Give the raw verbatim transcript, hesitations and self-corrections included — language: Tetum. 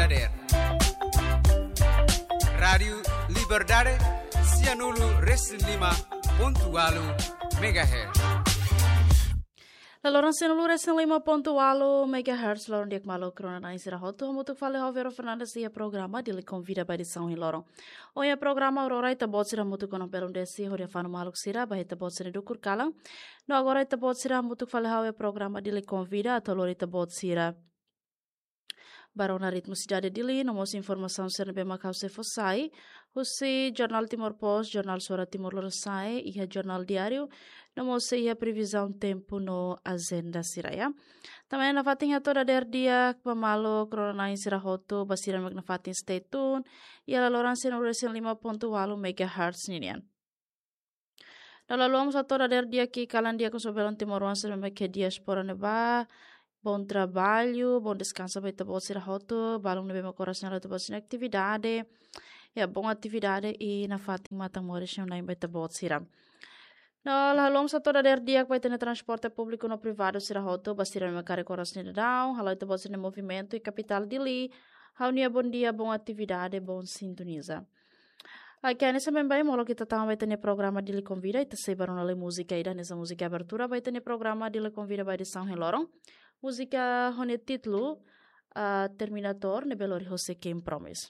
Dader. Rádiu Liberdade, sianulu resin lima pontu walu megahertz. La loron sianulu resin lima pontu walu megahertz, loron di'ak maluk rona-na'in sira hotu, hamutuk fali ho Vero Fernandes iha programa Dili Konvida ba edisaun ohin loron. Ohin iha programa Aurora Ita-Boot sira hamutuk kona belun desi hodi hafanu maluk sira ba iha ita-boot sira dukur kalan. No agora ita-boot sira hamutuk fali ho programa Dili Konvida atu lori ita-boot sira ba rona ritmu sidade Dili, no mós informasaun sira ne'ebé mak ha'u sei fó sai husi Jornál Timor Post, Jornál Suara Timor Lorosa'e, iha Jornál Diáriu, no mós iha previzaun tempu no ajenda sira, ya. Tanba ne'e nafatin hato'o dader di'ak ba maluk rona-na'in sira hotu, ba sira mak nafatin stay tune iha la loron sianulu resin lima pontu walu megahertz ninian. No la haluha mós hato'o dader di'ak kalan di'ak husi belun timoroan sira ne'ebé iha diáspora ne'ebá. Bom trabalho, bom descanso ba ita-boot sira hotu, balun ne'ebé mak oras ne'e ita-boot sira-nia atividade. Ya, bom atividade i nafatin matan moris ne'e ba ita-boot sira. No la haluha mós hato'o dader di'ak ba ita-nia transporte públiku no privadu sira hotu, ba sira ne'ebé mak karik oras ne'e daudaun, halo ita-boot sira-nia movimentu iha kapitál Dili. Ha'u-nia bom dia, bom atividade, bom sintoniza. Oke, hanesan baibain molok ita tama ba ita-nia programa Dili Konvida, ita sei ba rona lai múzika ida hanesan múzika abertura ba ita-nia programa Dili Konvida ba edisaun ohin loron. Múzika ho nia títulu, ah, Terminator, ne'ebé lori hosi Ken Promise.